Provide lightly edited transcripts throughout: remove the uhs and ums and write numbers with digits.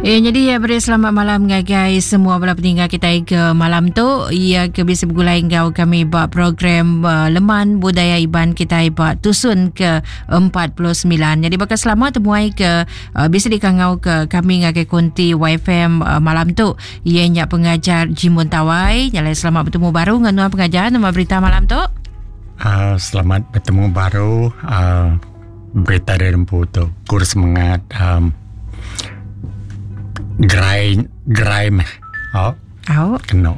Eh, jadi ya beri selamat malam ngagai semua bala peninggal kita ke malam tu ia ke bisa bergulai enggau kami ba program uh, Leman Budaya Iban kita ba tusun ke 49. Jadi bakal selama temuai ke uh, bisa dikangau ke kami ngagai konti YFM uh, malam tu ia nya pengajar Jimun Tawai. Nyalai selamat bertemu baru dengan nuan pengajar nama berita malam tu. Uh, selamat bertemu baru uh, berita dari rempu tu kur semangat um, gerai gerai meh oh oh kena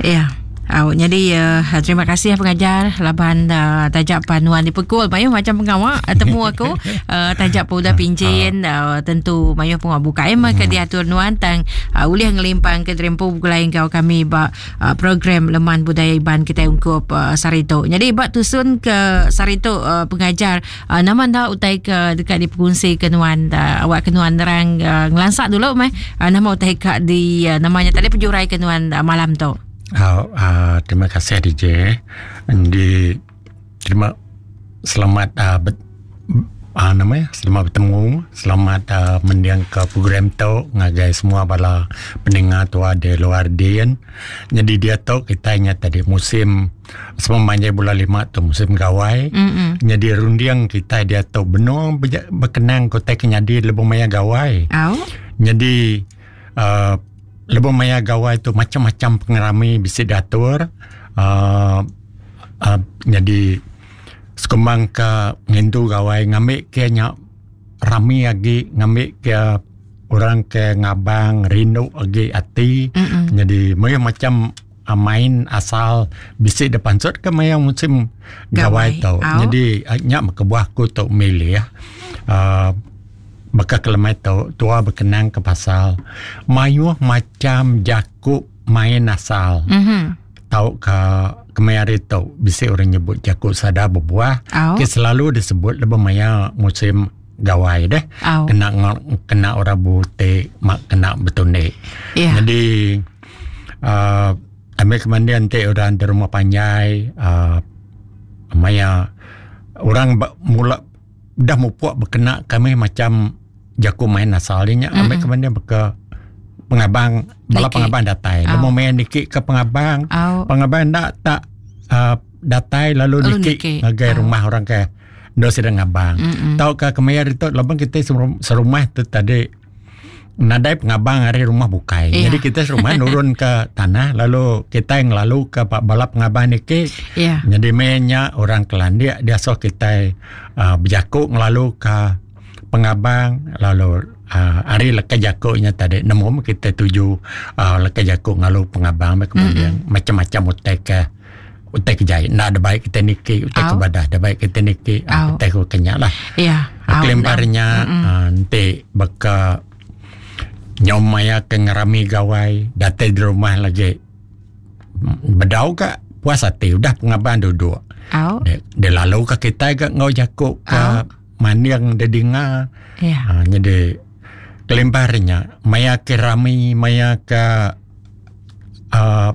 ya yeah. Au, jadi uh, terima kasih pengajar laban uh, tajak panuan dipekul mayuh macam pengawak uh, temu aku uh, tajak pun udah pincin uh, tentu mayuh pengawak buka emang ke diatur nuan tang uh, ulih ngelimpang ke terempu begulai enggau kami ba uh, program Leman Budaya Iban kita ungkup uh, sehari tu. Jadi ba tusun ke sehari tu uh, pengajar uh, nama enda utai ke dekat dipekongsi ke nuan uh, awak ke nuan nerang uh, ngelansak dulu meh uh, nama utai ka di uh, namanya tadi pejurai ke nuan uh, malam tu. Uh, uh, terima kasih DJ. Di terima selamat uh, bet, uh, nama ya selamat bertemu selamat uh, mendiang ke program tu ngagai semua bala pendengar tua di luar din jadi dia tu kita ingat tadi musim semua manjai bulan lima tu musim gawai mm-hmm. jadi runding kita dia tu benung berkenang kota kenyadi lebuh maya gawai oh. jadi uh, lebuh maya gawai tu macam-macam pengerami bisa diatur uh, uh, jadi sekumbang ke ngintu gawai ngambi ke nya rami agi ngambi ke orang ke ngabang rindu agi ati mm -mm. jadi mayuh macam uh, main asal bisi depansut ke maya musim gawai, gawai tu oh. jadi uh, nya kebuah aku tu milih uh, baka kelemai tu tua berkenang ke pasal mayuh macam jaku main asal mm -hmm. Tauka kemaya hari tu bisi orang nyebut jaku sada bebuah Au. ke selalu disebut lebuh maya musim gawai deh. Au. Kena kena orang butik mak kena betundi. Yeah. Jadi uh, ambil kemandian ti orang di rumah panjai uh, maya orang mula dah mupuk bekena kami macam jaku main asal dia nya ambil mm-hmm. kemandian beka pengabang bala Niki. pengabang datai Au. lemu main niki ke pengabang Au. pengabang ndak tak uh, datai lalu Lalu niki niki. ngagai Au. rumah orang ke ndo sida ngabang Mm-mm. tauka kemaya ditu laban kita serumah tu tadi nadai pengabang ari rumah bukai. Iya. Jadi kita serumah nurun ke tanah lalu kita yang lalu ke bala pengabang niki. Iya. Jadi menya orang kelandik dia so kita uh, berjakuk ngelalu ke pengabang lalu uh, ari leka jakuknya tadi nemu kita tuju uh, leka jakuk ngalu pengabang kemudian mm-hmm. macam-macam utai ke utai ke jai nak ada baik kita niki utai ke Au. badah ada baik kita niki Au. uh, utai ke kenyak lah Ya. Au. Kelimparnya uh, nanti baka nyom maya ke ngerami gawai datai di rumah lagi bedau ka puas hati udah pengabang duduk Au. dia, dia lalu ke kita ke ngau jakuk ke Au. maniang dia dengar Ya. ha, jadi kelimparnya maya ke rami maya ke uh,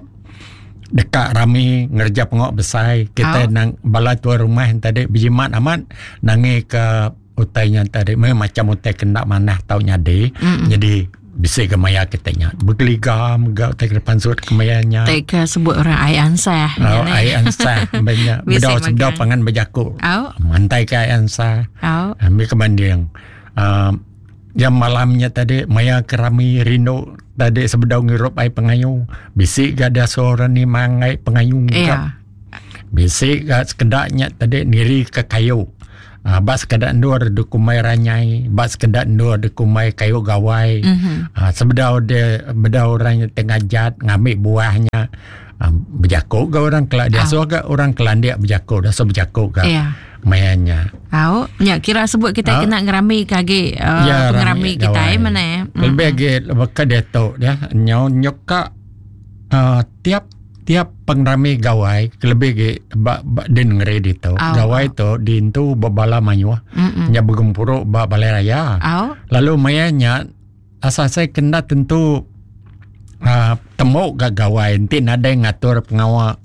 dekat rami ngerja pengok besar kita Au. nang bala tua rumah yang tadi berjimat amat nangi ke utainya tadi memang macam utai kena manah tau nyadi Mm-mm. jadi bisa ke maya kita nya bergeliga mega utai ke depan sut ke mayanya Tak ke sebut orang ai ansah. Oh, ai ansah banyak Bisi bedau sebedau makan. pangan berjakuk Au. mantai ke ai ansah Au. ambil kebanding uh, jam malamnya tadi maya kerami rindu tadi sebedau ngirup ai pengayu bisi ga ada seorang ni mangai pengayu Ya. bisi ga sekedaknya tadi niri ke kayu uh, bak sekedak endur de kumai ranyai bak sekedak endur de kumai kayu gawai Mhm. uh, sebedau dia bedau orang yang tengah jat ngambil buahnya uh, berjakuk ga orang kelak dia Ah. so ga orang kelandik berjakuk dah so berjakuk ga Ya. mayanya Au, ya kira sebut kita Au. kena ngerami kage uh, Ya, pengerami rami kita gawai. eh mana ya. Mm. Lebih lagi baka dia tu dia nyau nyoka uh, tiap tiap pengrami gawai lebih lagi ba, ba din ngeri di tu. Au, Gawai au. tu din tu bebala mayuh Mm-mm. nya bergempuruk ba balai raya. Au. Lalu mayanya asal saya kena tentu uh, temuk ga gawai nanti nadai ngatur pengawak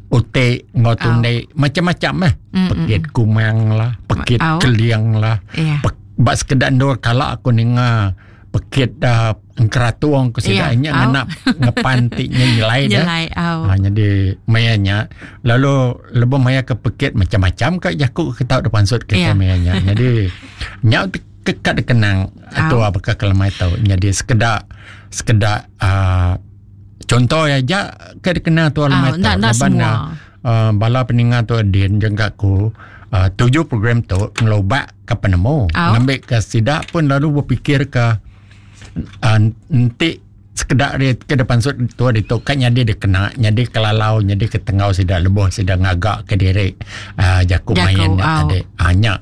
utik ngau tunde macam-macam lah. Mm-mm. Pekit kumang lah, pekit Au. keliang lah. Ya. Pek, bak sekedar ndur kala aku ninga pekit uh, engkeratung ku sida yeah. nya ngena ngepan ti nyelai dah. Nyelai au. Ha, jadi maya nya lalu lebuh maya ke pekit macam-macam ka jaku ke tau dipansut ke yeah. maya nya. Jadi nya ke ka dikenang atau apa ke kelemai tau. Jadi sekeda sekeda uh, contoh aja ke dikenang tu lemai tau. Laban uh, bala peninga tu din jengka ku uh, tuju program tu ngelobak ke penemu ngambi ke sida pun lalu berpikir ke uh, enti sekeda ari ke depan sut tua ditu ka nyadi dikena nyadi kelalau nyadi ke tengau sida lebuh sida ngaga ke diri uh, jaku main nya tadi uh, nya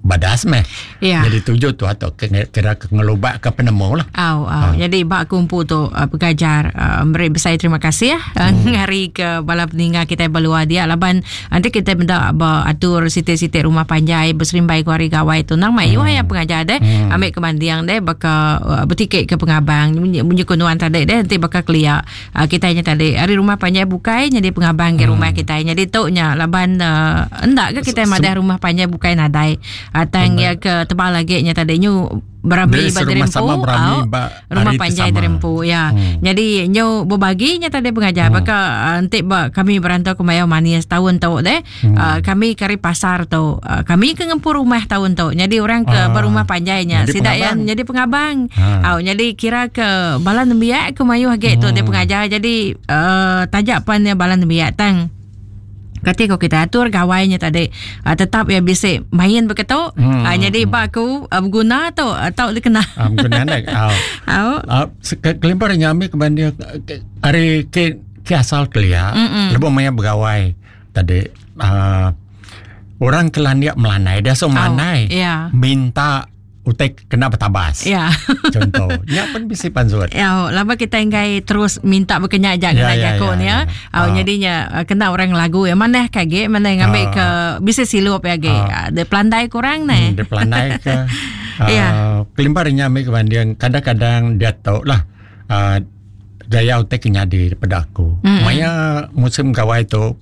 badas meh. Ya. Jadi tuju tu atau kira ke ngelubak ke penemu lah. Au, au. Ha. Jadi bak kumpu tu uh, pengajar uh, beri besai terima kasih ya uh, ngari ke bala peninga kita belua dia laban nanti kita benda ba atur siti-siti rumah panjai beserimbai ku hari gawai tu nang mai hmm. ya pengajar deh hmm. ambil ke mandiang deh baka uh, betikik ke pengabang munyi munyi ku nuan tadi deh nanti baka kelia uh, kita nya tadi ari rumah panjai bukai nyadi pengabang ke hmm. rumah kita nyadi tu nya laban uh, endak ke kita madah rumah panjai bukai nadai uh, tang ya ke tebal lagi nya tadi nyu berami ba diri empu rumah panjai diri empu ya hmm. jadi nyu berbagi nya tadi pengajar hmm. baka uh, enti ba kami berantau ke Mayau Manis tahun tu deh hmm. uh, kami kari pasar tu uh, kami ke ngempu rumah tahun tu jadi orang ke uh, berumah panjai nya sida yang jadi pengabang ha. Au jadi kira ke bala nembiak ke mayuh agi tu dia hmm. pengajar jadi uh, taja pan dia bala nembiak tang Kati ko kita atur gawai nya tadi uh, tetap ya bisi main begitu. Hmm. Uh, jadi ba aku uh, berguna tu uh, tau dikena. Ah berguna nek. Au. Au. Uh, kelimpah nya ambil ke bandir ari ke ke asal kelia lebuh maya begawai tadi uh, orang kelandik melanai dia so melanai. Oh, yeah. Minta utai kena betabas. Ya. Contoh. Nya pun bisi pansut. Ya, lama kita enggai terus minta bekenya aja kena ya, jaku ni ya. ya. Oh, jadinya eh, kena orang lagu ya mana kage mana ngambil ke bisa silup ya ge. Uh, dia pelandai kurang ni. Hmm, dia pelandai ke. Uh, ya. Kelimpah nya ambil kebanding kadang-kadang dia tahu lah uh, gaya utai ke nyadi daripada aku. Mm-hmm. Maya musim gawai tu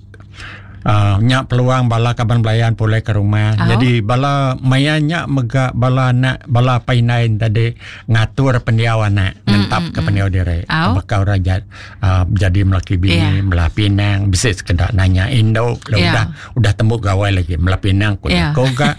uh, nya peluang bala kaban belayan pulai ke rumah. Oh. Jadi bala maya nya mega bala anak bala apai indai tadi ngatur pendiau anak, mm, ngentap ke pendiau diri. Oh. Baka orang jad, uh, jadi melaki bini, yeah. melah pinang, bisi sekeda nanya indu, yeah. udah udah tembu gawai lagi melah pinang ku yeah. ko ga.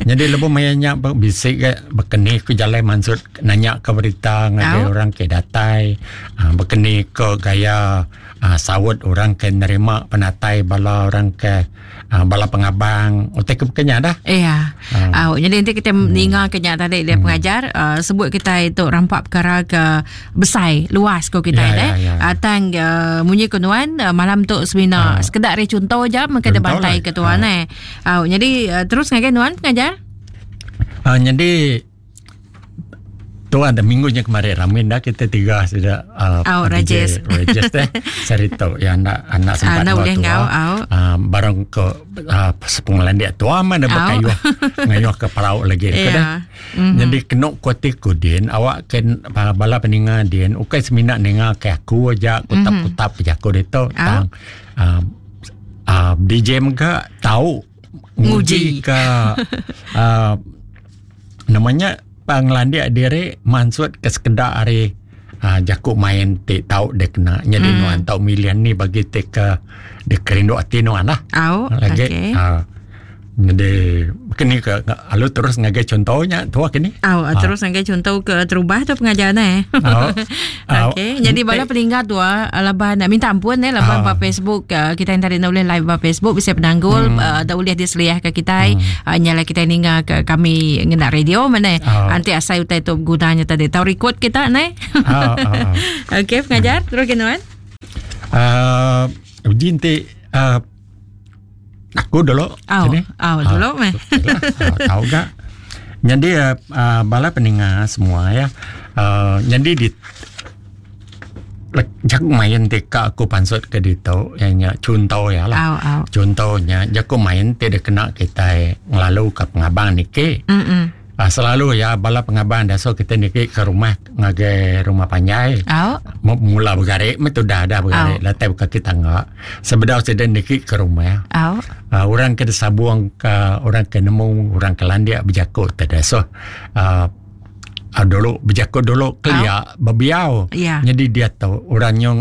Jadi lebuh maya nya bisi ga bekeni ku jalai mansut nanya ke berita ngagai orang ke datai uh, bekeni ke gaya uh, saut orang ke nerima penatai bala orang ke uh, bala pengabang utai ke bekenya dah. Iya. Uh. Uh, jadi nanti kita hmm. ninga ke nya tadi dia hmm. pengajar uh, sebut kita itu rampak perkara ke besai luas ko kita ya, deh. Ya, ya. Uh, tang uh, munyi ko nuan uh, malam tu semina uh. sekedar re contoh je mengke bantai ke tuan uh. eh. Uh, jadi uh, terus ngagai nuan pengajar. Uh, jadi Tu ada minggu nya kemarin rami dah kita tiga sudah uh, oh, Rajes Rajes teh cerita ya anak anak sempat uh, boleh ngau uh, barang ke uh, sepengelan dia tua mana oh. berkayuh ngayuh ke perau lagi yeah. dah. Mm-hmm. Jadi kena kuati ku din awak ken bala peninga din ukai semina ninga ke aku aja kutap-kutap mm-hmm. aku dia tu tang uh, uh, DJ mega tahu nguji ke uh, Nama nya pengelandik diri mansut ke sekeda ari uh, jaku main ti tau dikena nyadi mm. nuan tau milih ni bagi ti ke dikerindu ati nuan lah. Au, Lagi, okey. Uh, jadi kini ke lalu terus ngagai contohnya tua kini. Au, oh, terus ngagai contoh ke terubah tu pengajar ne. Au. Okey, jadi bala peninggal tu laban minta ampun eh laban ba Facebook kita yang tadi nak boleh live ba Facebook bisa penanggul hmm. uh, dah boleh diseliah ke kita hmm. uh, nyala kita ninga ke kami ngena radio mana oh. nanti asai utai tu gunanya tadi tahu record kita ne. Oh, oh, oh. Okey pengajar hmm. terus kena kan. Uh, uji nanti uh, aku dulu. Oh, oh dulu meh. Uh, tahu gak? Jadi uh, uh, bala peninga semua ya. Uh, jadi di jaku main ti ka aku pansut ke ditu iya nya chunto iya lah. Au, au. Chunto nya jaku main ti dikena kitai ngelalu ka pengabang niki. Mm -mm. Uh, selalu ya bala pengabang dasuh kitai niki ke rumah ngagai rumah panjai. Au. Mula begari meh tudah dah begari latai bekaki tangga. Sebedau sida niki ke rumah. Au. Uh, orang ke disabung ke orang ke nemu orang ke landik bejaku ti dasuh uh,. Uh, dulu bejaku dulu kelia bebiau. Ya. Jadi dia tu orang nyong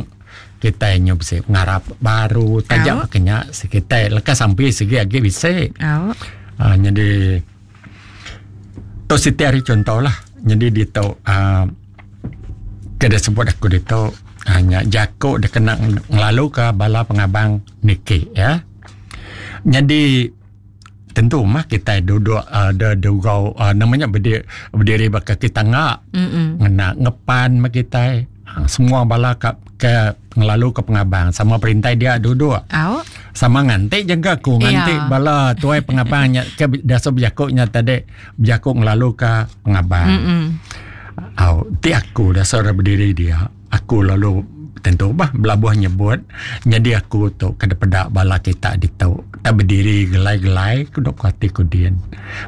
kitai nyu bisi pengarap baru taja baka nya kitai leka sampi sigi agi bisi. Au. Uh, jadi tu siti ari contoh lah. Jadi ditu uh, ke disebut aku ditu uh, nya jaku dikena ngelaluka bala pengabang niki ya. Jadi Tentu mah kitai duduk uh, de dugau uh, nama nya berdiri, berdiri baka kita ngak ngena ngepan mah kitai ha, semua bala ka ke ngelalu ke pengabang sama perintai dia duduk Au. sama nganti jaga ku nganti yeah. bala tuai pengabang nya ke biasa bejaku nya tadi bejaku ngelalu ke pengabang Mm-mm. Au, ti aku dasar berdiri dia Aku lalu tentu bah belabuh nyebut nyadi aku tu ke dipeda bala kita ditu tak bediri gelai-gelai ku dok ati ku din.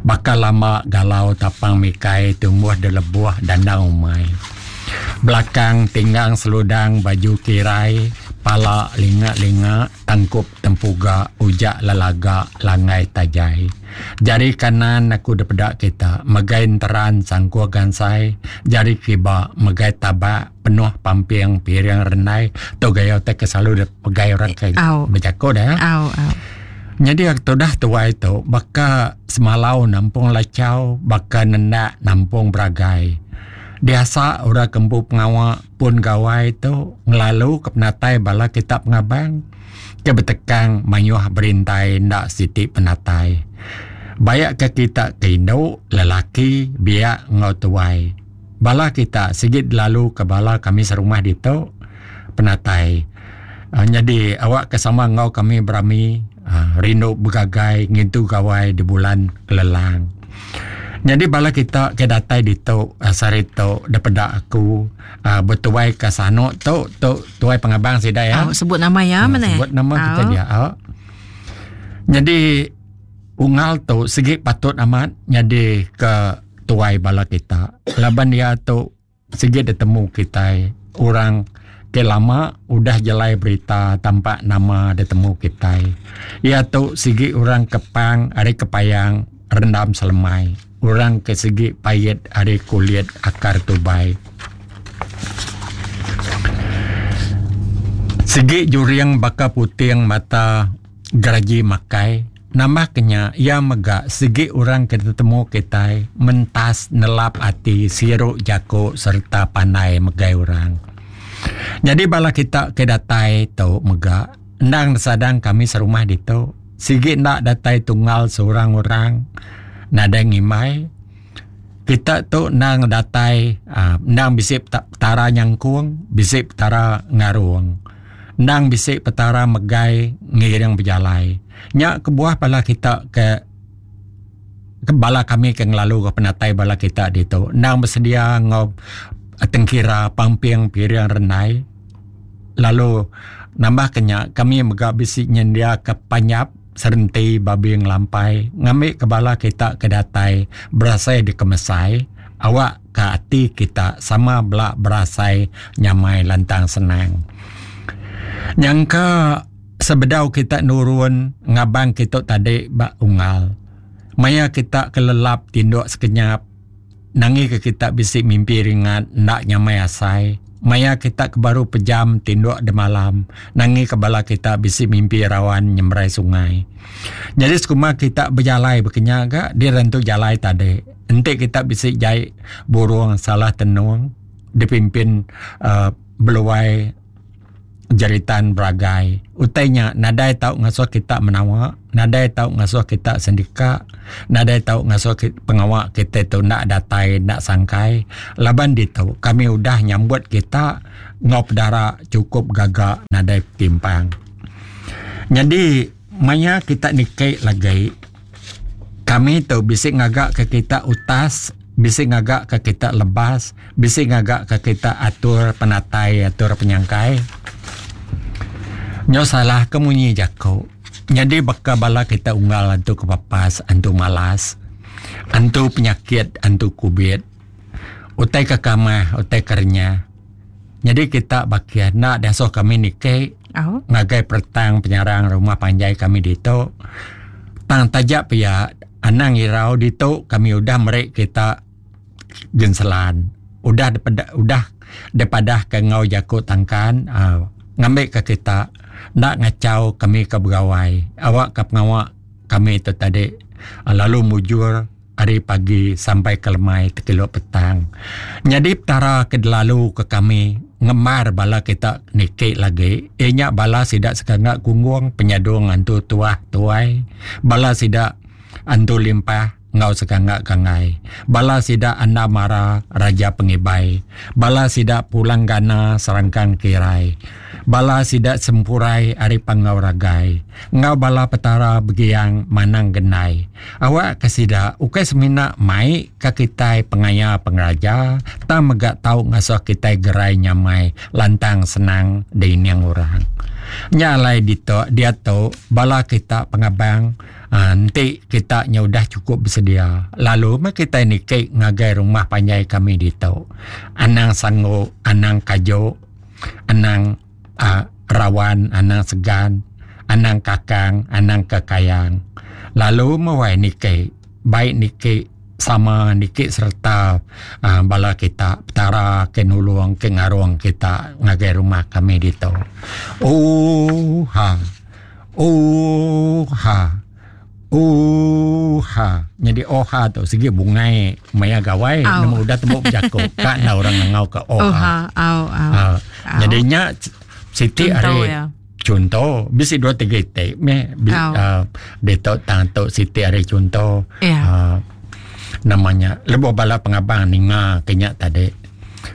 Baka lama galau tapang mikai tumbuh di lebuh dandang umai. Belakang tinggang seludang baju kirai pala linga-linga tangkup tempuga ujak lelaga langgai tajai. Jari kanan aku dipeda kita megai enteran sangkuh gansai, jari kiba megai tabak penuh pamping piring rendai. Tu gaya utai ke selalu dipegai orang ke bejaku dah. Au, au. Nyadi tudah tuai tu baka semalau nampung lachau, baka nendak nampung beragai. Diasa orang ke empu pengawa pun gawai tu ngelalu ke penatai bala kita pengabang. Ke betekang mayuh berintai enda siti penatai. Bayak ke kita ke indu, lelaki, biak enggau tuai. Bala kita sigi delalu ke bala kami serumah ditu penatai. Nyadi awak ke sama enggau kami berami rindu begagai ngintu gawai di bulan kelelang. Nyadi bala kita ke datai ditu sehari tu dipeda aku betuai ke sanu tu tu tuai pengabang sida iya. Oh, sebut nama iya hmm, mana? Sebut nama kita dia. Oh. Nyadi unggal tu sigi patut amat nyadi ke tuai bala kita. Laban dia tu sigi ditemu kitai orang ke lama udah jelai berita tampak nama ditemu kitai. Iya tu sigi orang kepang ari kepayang rendam selemai. Orang ke sigi pait ari kulit akar tubai. Sigi juring baka puting mata geraji makai. Nambah ke nya, iya mega sigi orang ke ditemu kitai mentas nelap ati siru jaku sereta pandai megai orang. Nyadi bala kita ke datai tu mega endang disadang kami serumah ditu. Sigi enda datai tunggal seorang orang nadai ngimbai. Kita tu endang datai aaa endang bisi petara nyangkung, bisi petara ngarung. Endang bisi petara megai ngiring bejalai. Nya kebuah bala kita ke bala kami ke ngelalu ke penatai bala kita ditu endang besedia enggau tengkira pamping piring rendai. Lalu nambah ke nya kami mega bisi nyendiaka panyap serenti babi ngelampai ngambi ke bala kita ke datai berasai dikemesai awak ka ati kita sama bela berasai nyamai lantang senang. Nyangka sebedau kita nurun ngabang kitu tadi ba unggal maya kita ke lelap tinduk sekenyap Nangi ke kita bisi mimpi ringat enda nyamai asai. Maya kita ke baru pejam tinduk demalam, nangi ke bala kita bisi mimpi rawan nyemerai sungai. Nyadi sekuma kita bejalai bekenya ga direntu jalai tadi. Enti kita bisi jai burung salah tenung dipimpin uhh beluai. Jeritan beragai. Utai nya nadai tau ngasuh kita menawa, nadai tau ngasuh kita sendika, nadai tau ngasuh pengawa kita tu enda datai enda sangkai laban ditu kami udah nyambut kita enggau pedara chukup gaga nadai timpang. Nyadi maya kita niki lagi kami tu bisi ngaga ke kita utas, bisi ngaga ke kita lebas, Bisi ngaga ka kita atur penatai atur penyangkai. Nyau salah ke munyi jaku. Nyadi baka bala kita unggal antu kepapas antu malas, antu penyakit antu kubit. Utai ke kamah utai ke renyah. Nyadi kita bakih enda diasuh kami niki ngagai peretang penyarang rumah panjai kami ditu. Tang taja pia anang irau ditu kami udah meri kita. genselan udah dipeda udah dipadah ke enggau jaku tangkan uhh ngambi ka kita enda ngachau kami ke begawai awak ka pengawa kami tu tadi lalu mujur ari pagi sampai ke lemai tekilu petang. Nyadi petara ke delalu ke kami ngemar bala kita niki lagi iya nya bala sida sekanga gunggung penyadung antu tuah tuai bala sida antu limpah enggau sekanga gangai bala sida anda mara raja pengibai bala sida pulang gana serangkang kirai bala sida sempurai ari panggau ragai enggau bala petara begiang manang gendai Awak ke sida ukai semina mai ka kitai pengaya pengeraja tang mega tau ngasuh kitai gerai nyamai lantang senang diining orang. Nya alai ditu diatu bala kita pengabang uhh enti kita nya udah chukup besedia lalu meh kitai niki ngagai rumah panjai kami ditu. Anang sanggu anang kaju anang uhh rawan anang segan anang kakang anang kekayang lalu meh wai niki bai niki sama niki sereta uhh bala kita petara ke nulung ke ngarung kita ngagai rumah kami ditu. Ooha ooha ooha nyadi ooha tu sigi bungai maya gawai nemu udah tembu bejaku ka enda orang ngangau ka ooha. Uhh nyadi nya siti ari chunto bisi dua tiga iti meh uhh ditu tang tu siti ari chunto uhh nama nya lebuh bala pengabang ninga ke nya tadi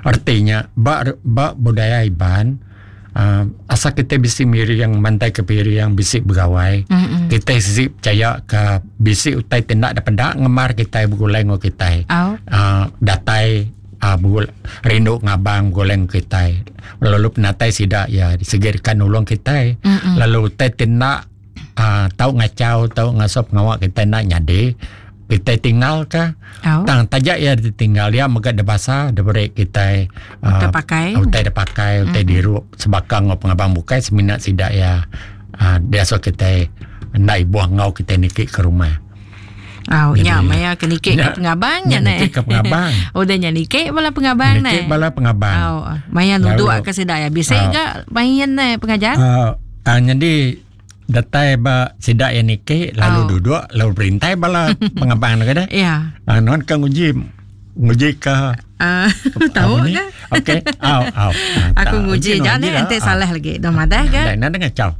reti nya ba ba budaya Iban uhh asal kitai bisi miring mantai ke piring bisi begawai kitai sigi pechaya ka bisi utai ti enda dipeda ngemar kitai begulai enggau kitai uhh datai uhh rindu ngabang begulai enggau kitai lalu penatai sida iya sigi deka nulung kitai lalu utai ti enda uhh tau ngachau tau ngasuh pengawa kitai enda nyadi kitai tinggal ka tang taja iya ditinggal iya mega dibasa diberi kitai uhh utai da pakai utai dirup sebaka enggau pengabang bukai semina sida iya uhh diasuh kitai enda ibuh enggau kitai niki ke rumah. Au nya maya ke niki ke pengabang nya neh. Niki ke pengabang. Udah nya niki bala pengabang neh. Niki bala pengabang. Au maya nuduk ke sida ya bisi ga main neh pengajar. Uh, uh, jadi datai ba sida ya niki lalu oh. duduk lalu berintai bala pengabang tu kada. Ya. Uh, non ke nguji nguji ke uh, tahu ke? Okey. Au au. Aku nguji jangan nanti salah lagi. Dah madah ke? Dah nak ngacau.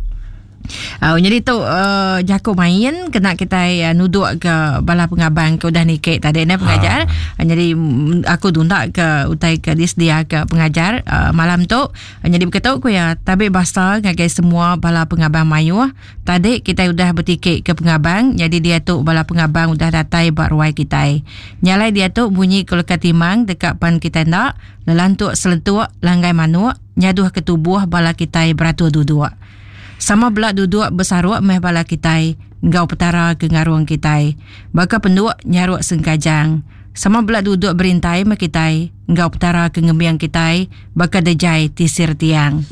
Uh, jadi tu uh, jaku main kena kitai uh, nuduk ke bala pengabang ke udah niki tadi ne pengajar. Ha. Uh, jadi mm, aku tunda ke utai ke disedia ke pengajar uh, malam tu. Uh, jadi begitu ku ya tabi basa ngagai semua bala pengabang mayuh. Tadi kitai udah betiki ke pengabang jadi dia tu bala pengabang udah datai ba ruai kitai. Nyalai dia tu bunyi ke leka timang deka pan kitai enda lelantuk selentuk langgai manuk nyaduh ke tubuh bala kitai beratur duduk. Sama bela duduk besaruk meh bala kitai enggau Petara ke ngarung kitai. Baka penduk nyaruk sengkajang. Sama bela duduk berintai meh kitai enggau Petara ke ngembing kitai baka dejai tisir tiang.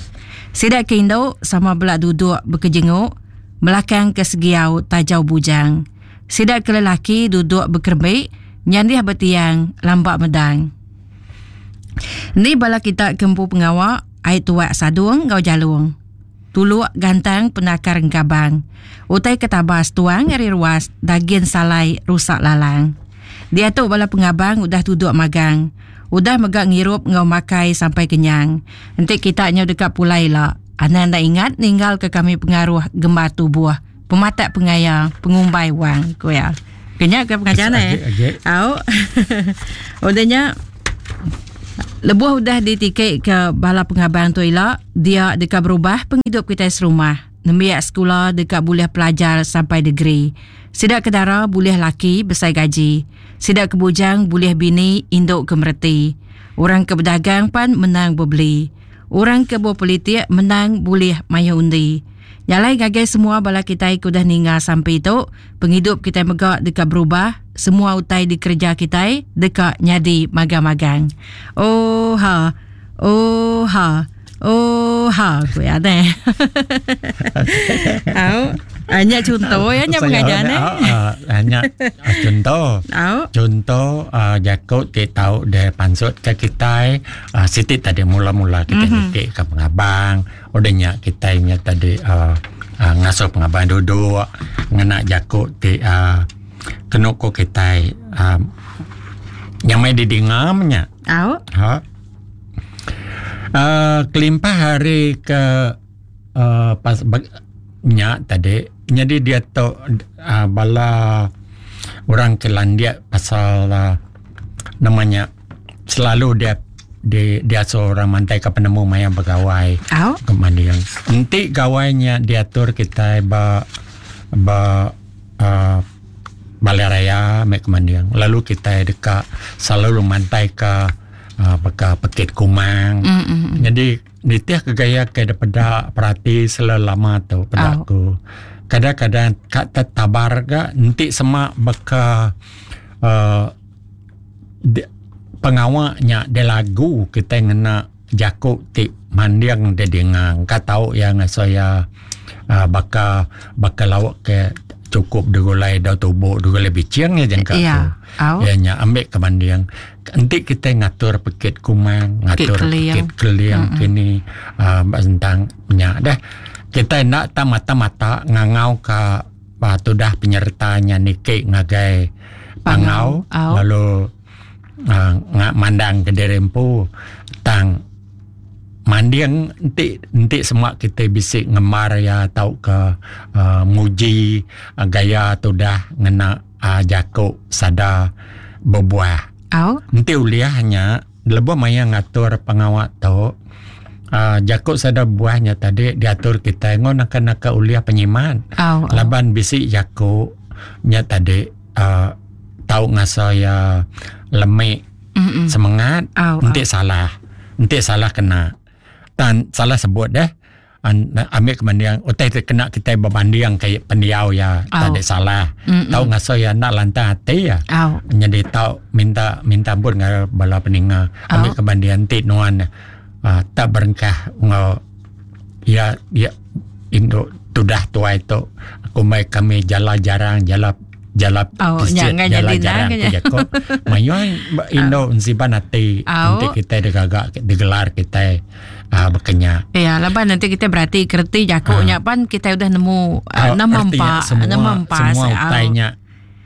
Sida ke indu sama bela duduk bekejenguk melakang ke segiau tajau bujang. Sida ke lelaki duduk bekerembi nyandih ba tiang lamba medang. Ni bala kita ke empu pengawa ai tuak sadung enggau jalung. Tuluk gantang penakar engkabang. Utai ke tabas tuang ari ruas dagin salai rusak lalang. Diatu bala pengabang udah tuduk magang. Udah mega ngirup enggau makai sampai kenyang. Enti kita nyau deka pulai ila, anang enda ingat ninggalka kami pengaruh gembar tubuh, pematak pengaya, pengumbai wang, ku iya. Kenya ke pengajar ne. Au. Udah nya lebuh udah ditiki ke bala pengabang tu ila, dia deka berubah pengidup kitai serumah. Nembiak sekula deka bulih pelajar sampai degree. Sida ke dara bulih laki besai gaji. Sida ke bujang bulih bini indu ke mereti. Orang ke bedagang pan menang bebeli. Orang ke bepolitik menang bulih mayuh undi. Nya alai ngagai semua bala kitai ke udah ninga sampi tu, pengidup kitai mega deka berubah, semua utai dikereja kitai deka nyadi magang-magang. Ooha! Ooha! Ooha! Ku iya deh. Au. Ah, nya contoh ya nya pengajar ne. Ah, nya contoh. Contoh jaku ti tau de pansut ke kitai siti tadi mula-mula kita mm -hmm. niki ke pengabang udah nya kitai nya tadi uh, uh, ngasuh pengabang duduk ngena jaku ti uh, kenu ko kitai uh, nyamai didinga nya. Au. Ha. Uh, kelimpah hari ke uh, pas nya tadi nyadi dia tu uh, bala orang ke landik pasal uh, nama nya selalu dia di diasuh orang mantai ke penemu maya begawai ke manding. Enti gawai nya diatur kitai ba ba uh, balai raya meh ke manding lalu kitai deka selalu mantai ka uh, baka pekit kumang. Mm-hmm. Jadi nitih ke gaya ke daripada perati selama tu peda aku. Kadang-kadang ka tertabar ga enti sema baka uh, pengawa nya dilagu kitai ngena jaku ti manding didinga engka tau iya ngasuh iya uhh baka baka lauk ke chukup digulai dau tubo digulai biching iya jangka ku. Iya nya ambi ke banding enti kitai ngatur pekit kumang ngatur pekit keling kini uhh ba sentang nya deh kitai enda tak mata mata ngangau ka tudah penyerta nya niki ngagai pangau lalu uh, mandang ke diri empu tang manding enti enti semua kita bisi ngemar ya tauka uh, muji uh, gaya tudah ngena uh, jaku sada bebuah. Au. Enti ulih nya lebuh maya ngatur pengawa tu uh, jaku sada buah nya tadi diatur kita ngon naka naka ulih penyimat. Au, au. Laban bisi jaku nya tadi uh, tau ngasa iya lemi Mm-mm. semangat Au, enti salah enti salah kena tan salah sebut deh an, ambil kemanding utai ti kena kita berbanding ke pendiau ya Au. tadi salah Mm-mm. tau ngasa iya enda lantang ati ya Au. jadi tau minta minta ampun ngagai bala peninga ambil Au. kebanding enti nuan uh, tak berengkah ngau ya ya indu tudah tuai tu kumbai kami jala jarang jala jala Oh, pisit, nya ngan jala jadi jarang nang ku nya. jako mayuh indu ensiban ati Au. enti kita digaga digelar kita uh, bekenya Ya, laban nanti kita berarti kerti jaku nya pan kita udah nemu uh, nama artinya empa, semua, nama empas. semua utai nya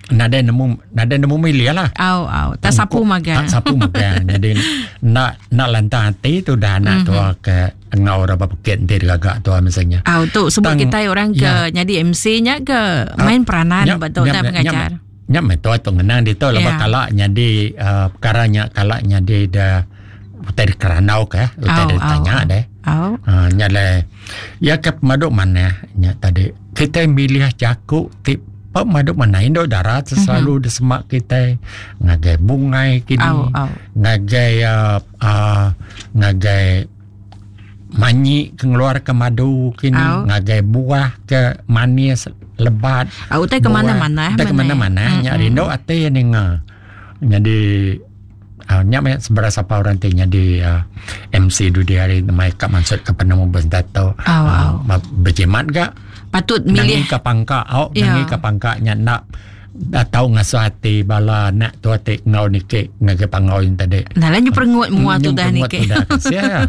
nadai nemu nadai nemu milih lah Au, au, tak sapu magang. Tak sapu magang. Jadi nak nak lantang hati tu dah anak mm-hmm. tua ke ngau orang pekit nanti digaga tua misalnya. Au tu sebab Tang- kita orang ke ya. jadi MC nya ke main peranan Nyap- betul nyap- tak pengajar. Nyap meh tua tu ngenang dia tu Ya. lepas kalak jadi uh, perkara nya kalak jadi dah utai dikerandau ke utai Au, ditanya au, deh. Au. Ha, nya le ya ke pemaduk mana nya tadi kita milih jaku ti pemaduk mana induk darat selalu mm-hmm. disemak kita ngagai bungai kini Au, au. ngagai uh, uh, ngagai manyi ke ngeluar ke madu kini Au. ngagai buah ke manis lebat Au utai ke buah. mana-mana utai ke mana-mana nya rindu ati ninga jadi uh, nya meh seberapa siapa orang ti jadi uh, MC dudi hari mai ka maksud ke penemu bentato Au, au. berjimat ga Patut nangi milih ke pangka au Ya. nangi ke pangka nya nak dah tau ngasuh hati bala anak tu ati ngau niki ngagai pangau yang tadi Nah, lah nyu perengut mua tu dah Nyu ni perengut ke. tu dah kasih ya.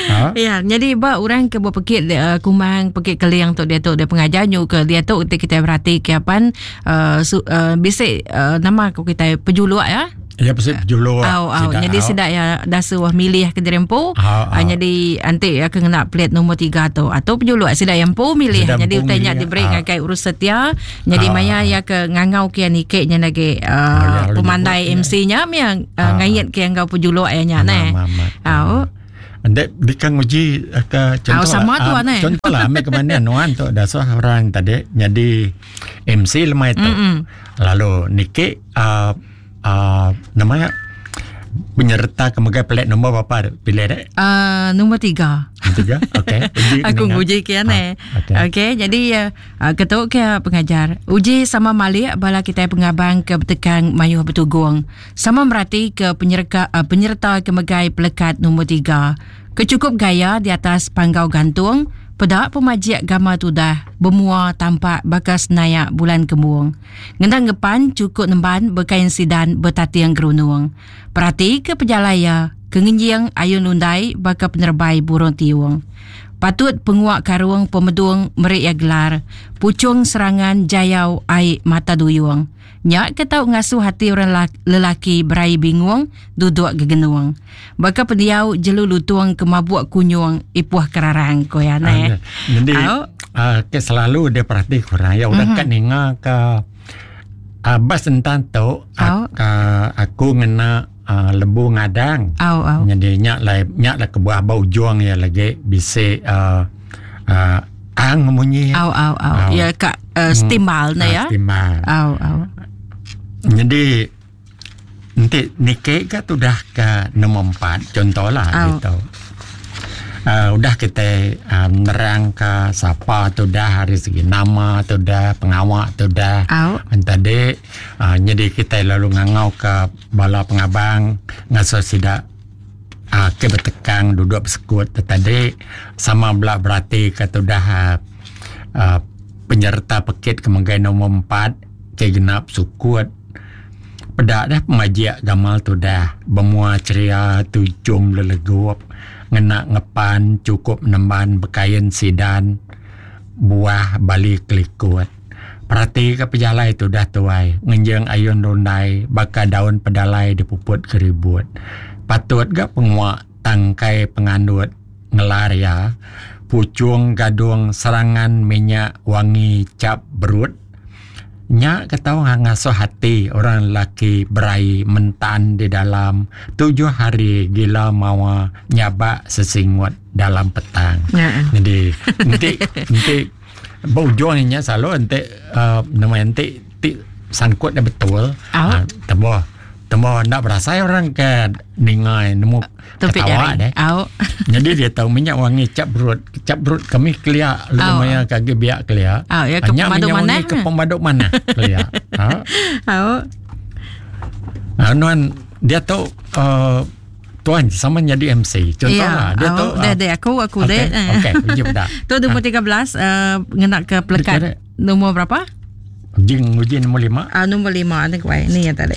Ha? Ya, jadi ba orang ke berpekit uh, kumang pekit keling tu dia tu dia pengajar nyu ke dia tu kita berhati ke apan uh, su, uh, bisik uh, nama aku kita pejuluk ya. Ya pasti julur. Au au. Jadi sedak ya dah suah milih ke diri empu. Au, au. Ah, jadi antik ya kena plate nombor 3 tu. Atau pejuluk sedak yang empu milih. Sedak Jadi empu utainya milih, diberi au. ngagai urus setia. Jadi Au, maya au. ya ke ngangau ke nikek nya lagi ya, lalu pemandai nyebut, MC nya yang Au, uh, ngayit ke enggau pejuluk ya nya neh. Au. Anda dikang uji eh, ke contoh Au, sama lah, tu, ah, aneh. Contoh lah ambil ke mana nuan tu dah suah orang tadi jadi MC lemai tu. Mm-mm. Lalu niki uh, uh, namanya penyerta ke megai pelat nombor berapa pilih dek? Nombor 3. Tiga. Okey. Uji Aku kenangan. nguji ke ane. Ah, okey. Okey, jadi uh, ketuk ke pengajar. Uji sama malik bala kita pengabang ke bertekang mayuh bertugung. Sama merati ke penyerta uh, penyerta ke megai pelekat nombor 3. Kecukup gaya di atas panggau gantung, Peda pemajik gamal tudah bemua tampak baka senayak bulan kembung. Ngena ngepan chukup nemban bekain sidan betating gerunung. Perati ke pejalai iya ke ngenjing ayun lundai baka penerebai burung tiung. Patut pengua karung pemedung meri iya gelar Puchung Serangan Jayau Ai Mata Duyung. Nya ke tau ngasuh ati orang lelaki beraie bingung duduk gegenung. Baka pendiau jelu lutung ke mabuk kunyung ipuh kerarang, ku iya neh. Jadi uh, ke selalu dia perhati kurang ya udah mm -hmm. kan ninga ke uh, bas tentang tu oh. uh, aku ngena uh, lembu ngadang. Oh, oh. Jadi nya lah nya lah kebuah ba ujung ya lagi bisi uh, uh, ang munyi. Au au au. Ya ka uh, stimbal na ya. Stimbal. Au au. Jadi enti niki ka tudah ke nombor 4 contohlah oh. gitu. Uh, udah kita uh, nerang ke sapa tu dah hari segi nama tu dah pengawa tu dah oh. tadi uh, jadi kita lalu ngangau ke bala pengabang ngasuh sida uh, ke betekang duduk besekut tadi sama bela berati ke tu dah uh, uh, penyerta pekit ke megai nombor 4 ke genap sukut peda dah pemajik gamal tudah bemua ceria tujum lelegup ngena ngepan chukup nemban bekain sidan buah bali kelikut. Perati ka pejalai tudah tuai ngenjing ayun rundai baka daun pedalai dipuput ke ribut. Patut ga pengua tangkai pengandut ngelar iya puchung gadung serangan minyak wangi chap berut. Nya ke tau ngasuh ati orang lelaki beraie mentan di dalam tujuh hari gila mawa nyabak sesingut dalam petang. Jadi enti enti ba ujung nya selalu enti uh, nama enti ti sangkut nya betul. Uh, temboh temboh enda berasai orang ke ninga nemu ketawa deh. Au. Jadi dia tahu minyak wangi cap berut, cap berut kami kelia lu maya kagi biak kelia. Au, ya ke Nya pemadu minyak manah. wangi ke pemadu manah kelia. Ha. Au. Ha, nuan dia tu uh, tuan sama jadi MC. Contohlah ya. dia tu uh, deh aku aku okay, deh. Okey, uji dah. Tu nombor 13 uh, ngena ke pelekat nombor berapa? Uji uji nombor 5. Ah nombor 5 ni kuai. Ni yang tadi.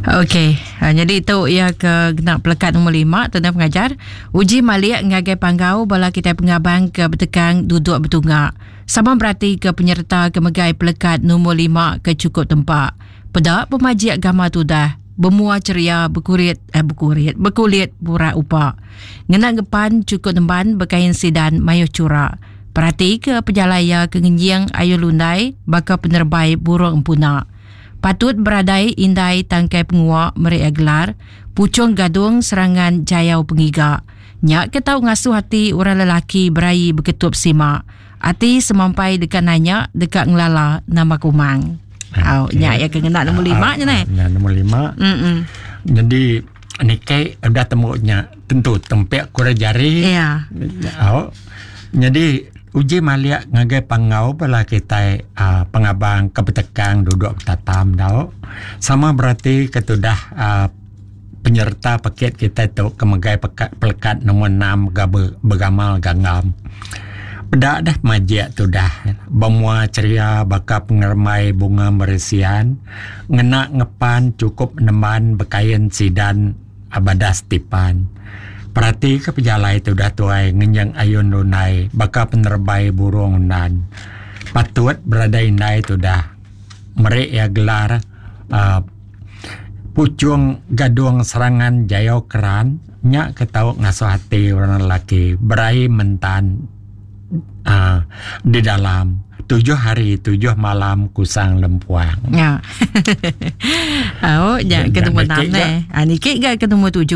Okey, ha, jadi itu ia ke kena pelekat nombor 5 tuan pengajar. Uji malik ngagai panggau bala kita pengabang ke betekang duduk betungak. Sama berarti ke penyerta ke megai pelekat nombor 5 ke cukup tempat. Peda pemajik agama tudah bermua ceria berkurit eh berkurit berkulit burak upak. Ngena ngepan cukup nemban berkain sidan mayuh curak. Perhati ke pejalaya ke ngenjing ayu lundai baka penerbai burung empuna. Patut beradai indai tangkai penguak meri gelar pucung gadung serangan jayau pengiga. Nyak ke tau ngasuh hati orang lelaki beraie berketup simak. Ati semampai dekat nanya dekat ngelala nama kumang. Au Okey. nyak ya ke ngena nombor 5 nya neh. Ya, nombor 5. Mm. Jadi nikai udah temunya tentu tempek kurang jari. Ya. Au. Jadi uji maliak ngagai pangau bala kita uh, pengabang ke betekang duduk betatam dau. Sama berarti ketudah uh, penyerta paket kita tu kemegai pekat, pelekat nombor 6 gabe, bergamal ganggam. Peda dah majik tu dah. Bermua ceria baka pengermai bunga meresian. Ngena ngepan cukup neman berkain sidan abadas tipan. Perhati ke pejalai tu dah tuai ngenyang ayun lunai baka penerbai burung undan. Patut berada indai tu dah. Merik ya gelar uh, pucung gadung serangan jayo keran nyak ketau ngasuh hati orang lelaki berai mentan uh, di dalam 7 hari 7 malam kusang lempuang. Ya. Au, ya ke nombor Nya 6 nikik neh. Ah nikik ga ke nombor 7.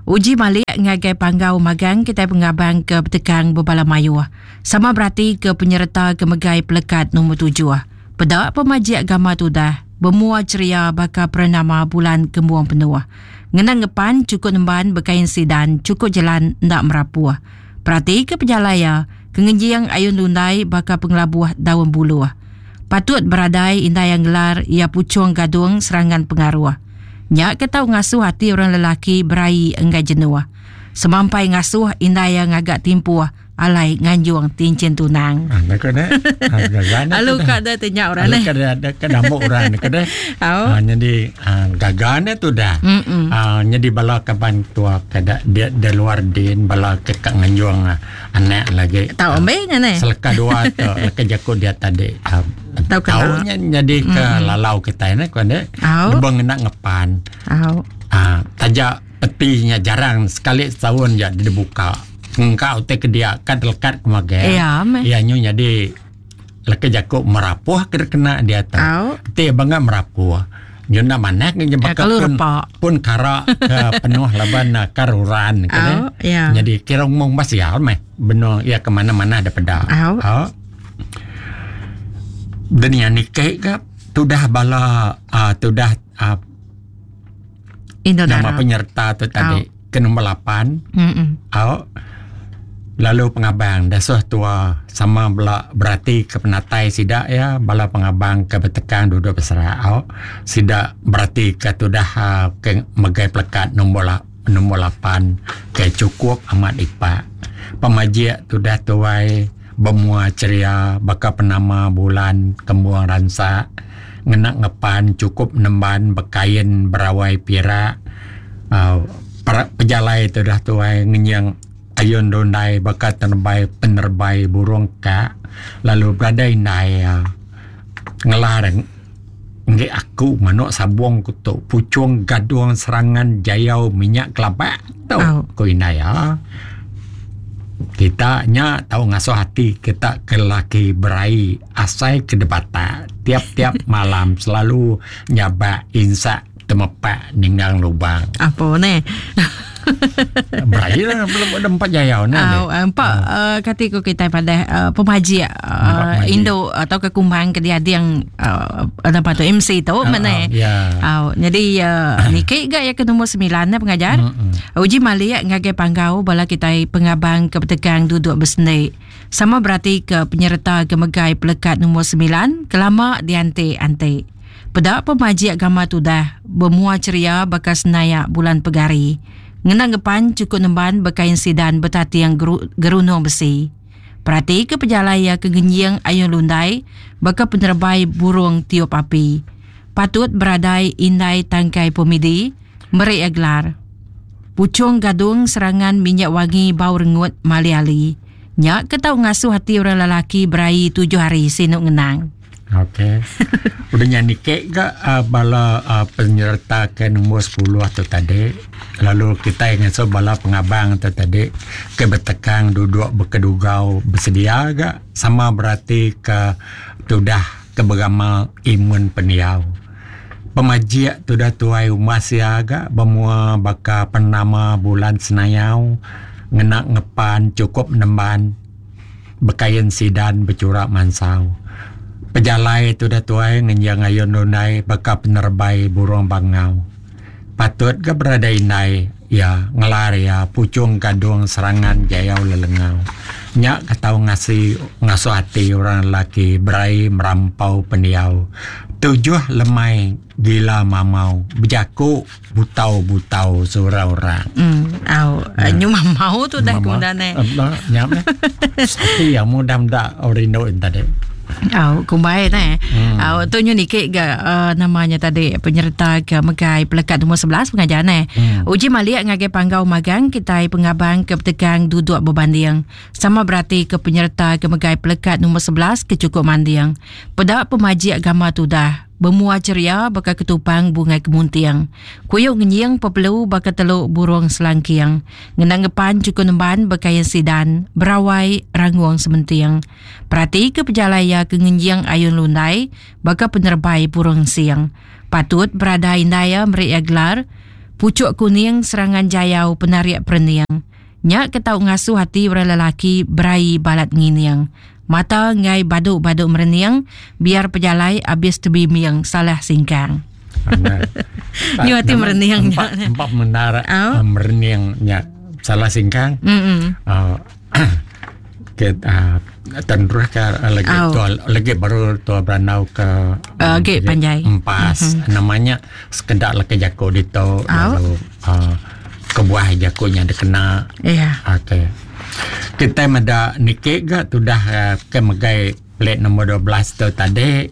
Uji malik ngagai panggau magang kita pengabang ke betekang bebala mayuh. Sama berarti ke penyerta ke megai pelekat nombor 7. Peda pemajik agama tudah bermua ceria baka pernama bulan kembuang penuh. Ngena ngepan cukup nemban berkain sidan cukup jalan ndak merapuh. Perhati ke pejalaya kengenjiang ayun lundai baka pengelabuh daun buluh. Patut beradai indai yang gelar ia pucung gadung serangan pengaruh. Nya ke tau ngasuh ati orang lelaki beraie enggai jenuh. Semampai ngasuh indai iya ngaga timpuh alai nganjung tinchin tunang. Alu ka deh ti nya orang neh. Alu ka ka dambuk orang ka deh. Ha nyadi gaga ne tudah. Ha nyadi bala kaban tua ke da di luar din bala ke ka nganjung anak lagi. Tau ambi nya neh. Seleka dua tu leka jaku dia tadi. Tau kena. Nya nyadi ke lalau kitai neh ku ande. Lebuh ngena ngepan. Au. Taja peti nya jarang sekali setaun ja dibuka. Engka utai ke dia ka lekat ke magang. Iya meh. Iya nyu nyadi leka jaku merapuh ke kena diatu. Au. Ti banga merapuh. Nyu enda manah ke baka pun pun kara ke penuh laban karuran ke deh. Ya. Nyadi kira umung ba sial meh benung iya ke manah-manah da peda. Au. Au. Denia niki ka tudah bala uh, tudah uh, Indo nama penyerta tu tadi ke nombor 8. Mm Au. Lalu pengabang dasuh tua sama bela berati ke penatai sida iya bala pengabang ke betekang duduk beserak au. Sida berati ke tudah ke megai pelekat nombor nombor 8 ke chukup amat ipak. Pemajik tudah tuai bemua ceria baka penama bulan kembung ransak ngena ngepan chukup nemban bekain berawai pirak au pejalai tudah tuai ngenying Ayun rundai baka tenebai penerebai burung ka lalu beradai indai iya ngelar enggi aku manok sabong ku tu puchong gadong serangan jayau minyak kelabak tu ku indai iya. Kita nya tau ngasuh ati kita ke lelaki beraie asai ke debatak tiap tiap malam selalu nyabak insak temepak ninggang lubang. Apo neh. Beraie lah belum ada empat jayau neh. Au empat uh, kati ko kitai padah uh, pemajik uh, indu atau ke kumbang ke diading uh, apa tu MC tu uh, mana. Uh, yeah. Au jadi uh, niki ga ya ke nombor 9 ne pengajar. Mm-hmm. Uji malik ngagai panggau bala kitai pengabang ke betegang duduk besendi. Sama berati ke penyerta ke megai pelekat nombor 9 kelama dianti-anti. Peda pemajik gama tudah bemua ceria baka senayak bulan pegari. Ngena ngepan chukup nemban bekain sidan betating gerunung besi. Perati ke pejalai iya ke ngenjing ayun lundai baka penerebai burung tiup api. Patut beradai indai tangkai pemidi meri iya gelar. Puchung gadung serangan minyak wangi bau rengut mali ali. Nya ke tau ngasuh ati orang lelaki beraie tujuh hari sinu ngenang. Okey. Udah nya niki ga uh, bala uh, penyerta ke nombor 10 tu tadi. Lalu kitai ngasuh bala pengabang tu tadi ke betekang duduk bekedugau bersedia ga sama berati ke tudah ke beramal imun pendiau. Pemajik tudah tuai umas iya ga bemua baka penama bulan senayau ngena ngepan chukup nemban. Bekain sidan bechura mansau. Pejalai tudah tuai ngenjing ayun lundai baka penerebai burung bangau. Patut ga berada indai iya ngelar iya puchung gadung serangan jayau lelengau. Nya ke tau ngasi ngasuh ati orang lelaki berai merampau pendiau. Tujuh lemai gila mamau bejaku. Butau-butau seorang orang. Au, nyu mamau tu dah ku dah ne. Nya meh. Ati yang mudah meda rindu tadi. Au, kumbai ne. Au, tu nyu niki ga uh, namanya tadi penyerta ke megai pelekat nombor 11 pengajar ne. Uji malik ngagai panggau magang kitai pengabang ke betegang duduk bebanding. Sama berati ke penyerta ke megai pelekat nombor 11 ke cukup manding. Peda pemajik gama tudah. Bemua ceria baka ketupang bungai kemunting. Kuyuk ngenying pepelu baka teluk burung selangking. Ngena ngepan chukup nemban bekain sidan, berawai rangung sementing. Perati ke pejalai iya ke ngenjing ayun lundai baka penerebai burung ensing. Patut berada indai iya meri iya gelar Puchuk Kuning Serangan Jayau Penarik Perening. Nya ke tau ngasuh ati orang lelaki beraie balat ngining. Mata enggai badu-badu merening, biar pejalai abis tebimbing salah singkang. Nyu ati merening nya. Empa bendar oh. merening nya salah singkang. Mm uh, Okey, terus ke lagi tua lagi baru tua berandau ke agi panjai empas mm-hmm. Namanya sekeda leka jaku ditu lalu kebuah jaku nya dikena. Iya. Okey. Kita meda niki ga tudah ke megai plate nombor 12 tu tadi.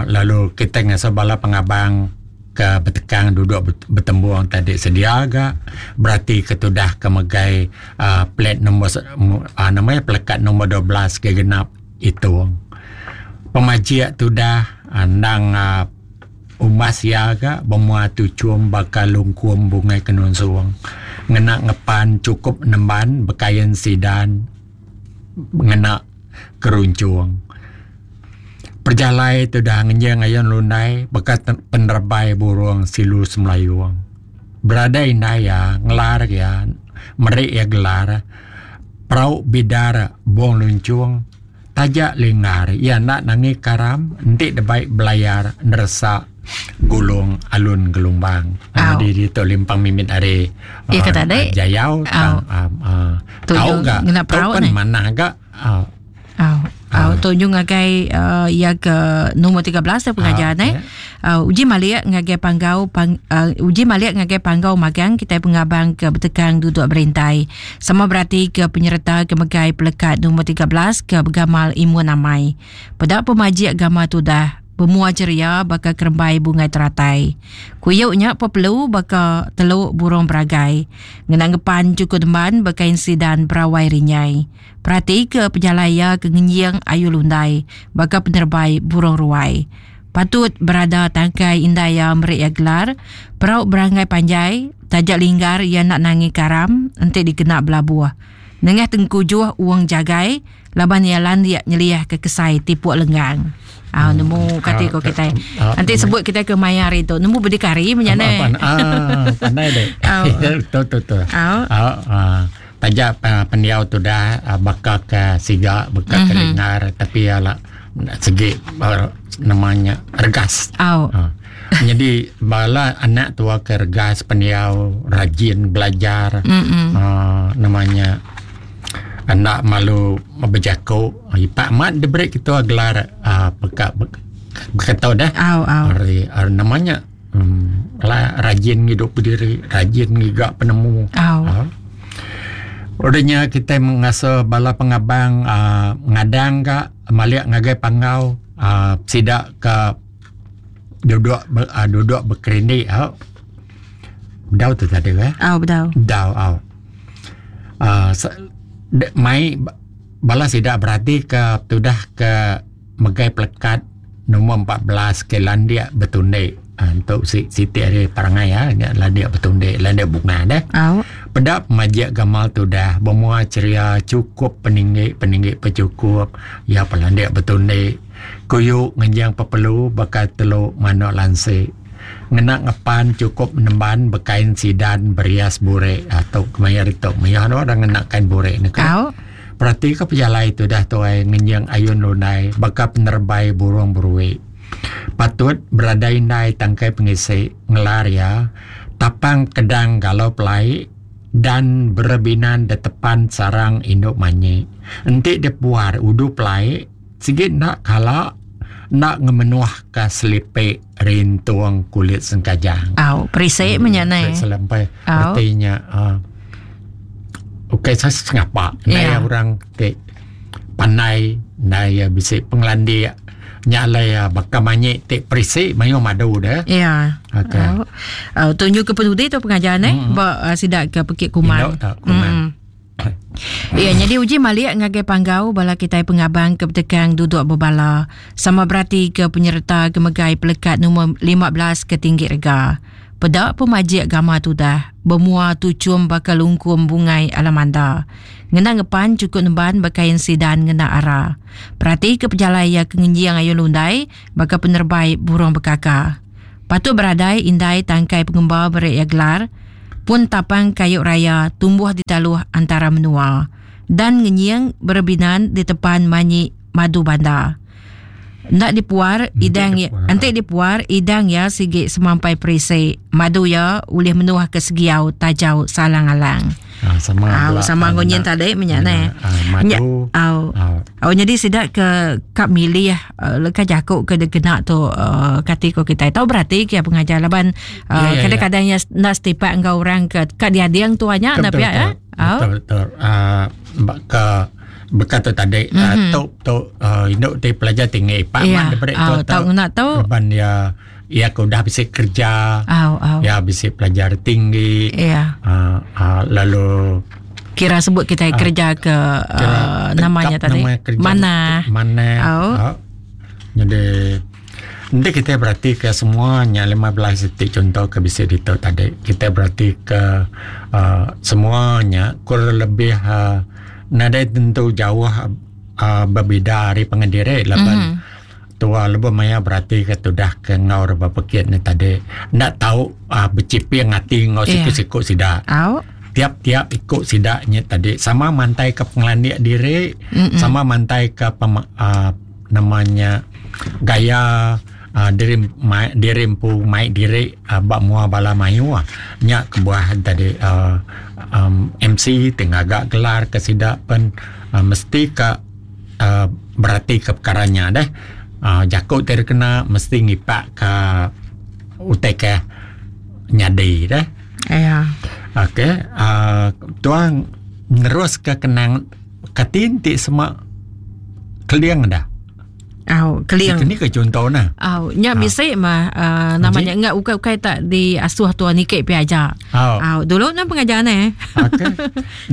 Lalu kita ngasuh bala pengabang ke betekang duduk betembung tadi sedia ga berati ke tudah ke megai uh, plat nombor uh, nama ya pelekat nombor 12 ke genap itu pemajik tudah endang uh, umbas iya ga bemua tuchum baka lungkum bungai kenunsung ngena ngepan chukup nemban bekain sidan ngena kerunchung. Pejalai tudah ngenjing ayun lundai baka penerebai burung silu semelayung. Beradai indai iya ngelar iya meri iya gelar perau bidar bung lunchung taja linggar iya enda nangi karam enti debai belayar neresa gulung alun gelumbang. Nyadi ditu limpang mimit ari jayau tang tau ga tau pen manah ga. Au. Au tu nyu ngagai uh, iya ke nombor 13 tu pengajar uh, eh. Uh, uji malik ngagai panggau pang, uh, uji malik ngagai panggau magang kita pengabang ke betekang duduk berintai. Sama berarti ke penyerta ke megai pelekat nombor 13 ke begamal imun amai. Peda pemajik gama tudah Bemua ceria baka kerembai bungai teratai. Kuyuk nya pepelu baka teluk burung beragai. Ngena ngepan cukup demban bekain sidan berawai rinyai. Perati ke pejalai iya ke ngenjing ayu lundai baka penerebai burung ruai. Patut berada tangkai indai iya meri iya gelar perau beranggai panjai taja linggar iya enda nangi karam enti dikena belabuh. Nengah tengkujuh uong jagai laban iya landik nyeliahka kesai tipuk lenggang. Ah nemu kati ko kitai. Enti sebut kitai ke maya hari tu nemu berdikari menya ne. Ah pandai deh. Betul betul betul. Ah Taja pendiau tudah baka ke siga baka ke lingar tapi iya la segi nama nya regas. Nyadi bala anak tua ke regas pendiau rajin belajar nama nya enda malu bejaku ipak amat diberi ketua gelar peka baka deh. Nama nya Rajin ngidup bediri, rajin ngiga penemu. Udah nya kitai ngasuh bala pengabang uhh ngadang ka malik ngagai panggau uhh sida ka duduk uhh duduk bekerindi au. Bedau tu tadi eh. Au bedau. Bedau au. Uhh mai bala sida berati ka tudah ke megai pelekat Nombor 14 ke landik betundi. Ha, untuk si, siti ari perangai ya, nya landik betundi, landik bunga deh. Au. Peda pemajik gamal tudah, bemua ceria cukup peninggi, peninggi pecukup, ya pelandik betundi. Kuyu ngenjing pepelu baka telu manuk lansi. Ngena ngepan cukup nemban bekain sidan berias burik. Ha, tu kemaya ditu mayuh orang ngena kain burik ni kan. Au. Peratika pejalai tudah tuai ngenjing ayun lundai baka penerebai burung beruik. Patut beradai indai tangkai pengisi ngelar iya tapang kedang galau pelai dan berebinan detepan sarang indu manyi. Enti dipuar udu pelai sigi enda kala enda ngemenuhka selipi rintung kulit sengkajang. Au, perisik meh nya neh. Perisik lempai. Reti nya uh, ukai saya sengapa. Ndai yeah. orang ti pandai, ndai ya bisi pengelandik. Nya alai ya baka manyi ti perisik mayuh madu deh. Ya. Yeah. Okey. Uh, uh, tunjuk ke penudi tu pengajar neh mm-hmm. ba uh, sida ke pekit kuman. Indu tak kuman. Mm. Iya, nyadi uji malik ngagai panggau bala kitai pengabang ke betekang duduk bebala. Sama berati ke penyereta ke megai pelekat nombor 15 ke tinggi rega. Peda pemajik gama tudah, bemua tuchum baka lungkum bungai alamanda. Ngena ngepan chukup nemban bekain sidan ngena ara. Perati ke pejalai iya ke ngenjing ayun lundai baka penerebai burung bekaka. Patut beradai indai tangkai pengemba beri iya gelar pun tapang kayu raya tumbuh di taluh antara menua dan ngenying berebinan di tepan manyi madu banda. Enda dipuar idang enti dipuar idang iya sigi semampai perisi. Madu iya ulih menuh ke segiau tajau salang alang. Ah, sama Au, sama enggau nyin tadi menya neh. Ah, madu. Au. Au nyadi sida ke ka milih uh, leka jaku ke dikena tu uh, kati ko kitai. Tau berati ke pengajar laban uh, ya, ya, kadang-kadang ya. enda setipak enggau orang ke ka diading tu nya na pia ya. Betul betul. Uh, ke beka tu tadi mm-hmm. uh, tu tu uh, induk ti pelajar tinggi pak yeah. man daripada oh, tu tau ngena tu ban ya ia ke udah bisi kerja oh, oh. ya bisi pelajar tinggi yeah. uh, uh, lalu kira sebut kita uh, kerja ke uh, namanya tadi nama kerja mana mana oh. uh, jadi Nanti kita berarti ke semuanya 15 detik contoh ke bisi ditu tadi. Kita berarti ke uh, semuanya kurang lebih uh, nadai tentu jauh uh, berbeda ari pangan diri laban mm -hmm. tua lebuh maya berarti ke tudah ke enggau reba pekit ni tadi enda tau uh, beciping ati enggau yeah. siku-siku sida. Au. Tiap-tiap iku sida nya tadi sama mantai ke pengelandik diri, mm -mm. sama mantai ke pem, uh, nama nya gaya uh, diri mai, diri empu mai diri uh, ba mua bala mayuh nya kebuah tadi uh, um, MC ti ngaga gelar ke sida pen uh, mesti ka uh, berati ke perkara nya deh uh, jaku ti dikena mesti ngipak ka utai ke nyadi deh. Ya. Okey, uh, tuang nerus ke kenang Kati enti sema keling dah. Au, keling. Ni ke contoh nah. Au, nya ha. bisi mah uh, namanya enggak ukai-ukai tak diasuh tuan nikik pi aja. Au. Au, dulu nang pengajar ne. Okey.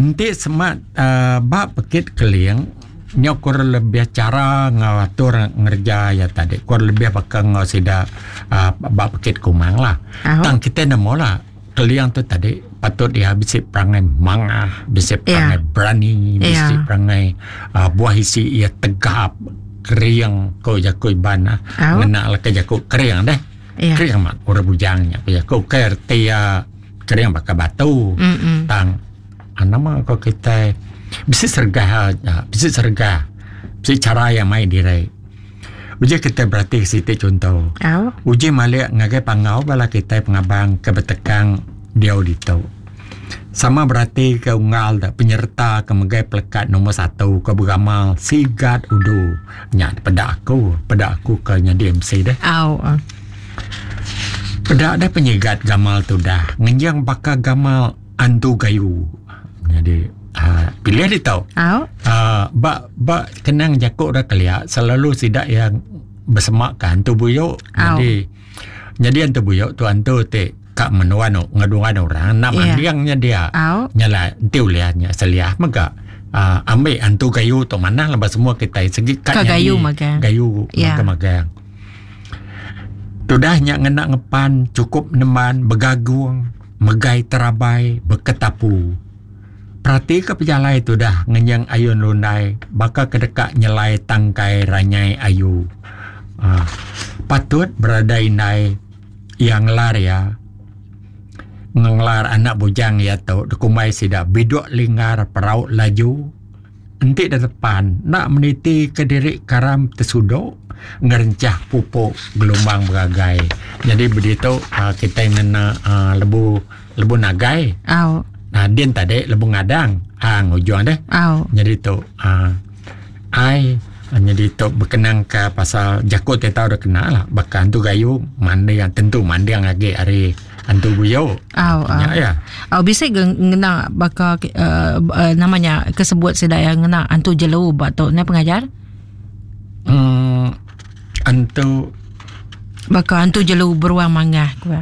Enti sema uh, ba pekit keling nya kurang lebih cara ngau atur ngerja ya tadi. Kurang lebih baka ngau sida uh, ba pekit kumang lah. Tang kita nemu lah Keling tu tadi patut iya bisi perangai mangah, bisi perangai yeah. berani, bisi yeah. perangai uh, buah isi iya tegap, kering ko jaku Iban ah. Oh. Ngena leka jaku kering deh. Yeah. Kering amat orang bujang nya ko jaku ke erti iya kering baka batu. Mm -mm. Tang ah, nama ko kitai bisi sergah ah, bisi sergah. Bisi cara yang mai diri. Uji kitai berati siti chunto. Au. Uji malik ngagai panggau bala kitai pengabang ke betekang diau ditu. Sama berati ke unggal da penyerta ke megai pelekat nombor satu ke beramal Sigat Udu. Nya peda aku, peda aku ke nyadi MC deh. Au. Peda deh penyigat gamal tudah ngenjing baka gamal Antu Gayu. Nyadi uh, pilih ditu. Au. Uh, ba ba kenang jaku ora kelia selalu sida yang besemak ke antu buyu. Jadi jadi antu buyu tu antu ti ka menua nu ngeduan orang nak Yeah. manding nya dia. Au. Nya lah enti ulih nya seliah mega uh, ambil antu gayu tu manah laban semua kitai segi ka Ka nyadi gayu magang. Gayu Yeah. magang. Tudah nya ngena ngepan chukup nemban begagung megai terabai beketapu. Peratika pejalai tudah ngenyeng ayun lundai baka ke deka nyelai tangkai ranyai ayu. Aaa patut berada indai iya ngelar iya ngelar anak bujang iya tu dikumbai sida biduk linggar perau laju. Enti da depan enda meniti ke diri karam tesudu ngerencah pupuk gelumbang beragai. Nyadi beditu aaa kitai ngena aaa lebu lebu nagai. Au. Nah din tadi lebu ngadang ang ujung deh. Au. Nyadi tu aaa ai nyadi tu bekenang ka pasal jaku ti tau da kena lah baka antu gayu manding tentu manding agi ari Antu buyo. Au, au. Nya ya. Au bisi ge ngena baka uh, uh, nama nya ke sebut sida ya ngena antu jelu ba tu ne pengajar? Hmm antu baka antu jelu beruang mangah ku.